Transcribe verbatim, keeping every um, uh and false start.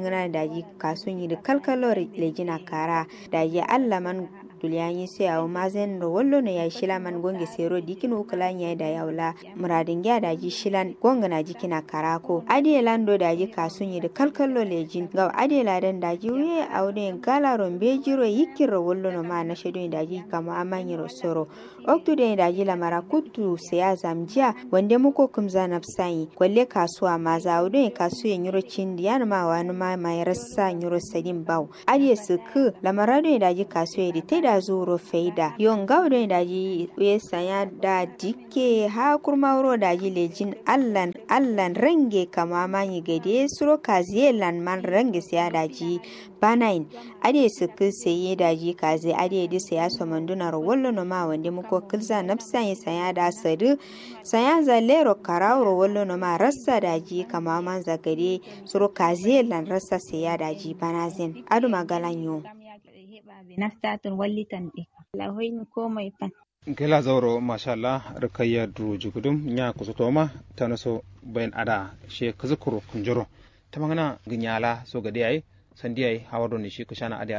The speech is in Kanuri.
Ngǝna daji kasu nyi dǝ kalkallo lejin akkara. Daji allah man duliya nyi sai awo mazen ro wallo no yayi shila man gonge sai ro dikin wukǝla nyi yayi dayi awo la muradin giya daji shilan gongǝna jikin akkara ko adiye lan do daji kasu nyi dǝ kalkallo lejin ngawo adiye ladan daji wuye awo done gala ro mbeji ro yikkin ro wallo no ma nashe done daji kamo amma nyi ro soro. Oktu done daji lamara kuttu sai ya zamjiya wande muko kǝmza nafsayi kwalle kasuwa maza awo done kasuye nyiro cindi yanǝma wanǝma mai rassa nyiro sadin bawo. Adiye sǝkkǝ lamara done daji kasuye dǝ taida zu wuro faida yo ngawo done daji wuye sanya da dikke ha kurma wuro daji lejin allan allan range kamo amma nyi gade suro kaziye lan man range sai ya daji banayin. Adiye sǝkkǝ sai ye daji kaze adiye dǝ sai ya somanduna ro wallo noma wande muko kǝlza nafsa ye sanya da sadǝ sanya za lero karawu ro wallo noma rassa daji kamawa manza gade suro kaze lan rassa sai ya daji banazen aduma galan yo. Naftatǝn wallitan ɗe. Lahoyin komai fan. Ngela zauro mashallah rikayya duro jugudum nya kusutoma tanaso bayin ada she kuzukuro kunjoro. Tamangana ginyala so gade yayi sandi yayi hawa doni shi kushana ade.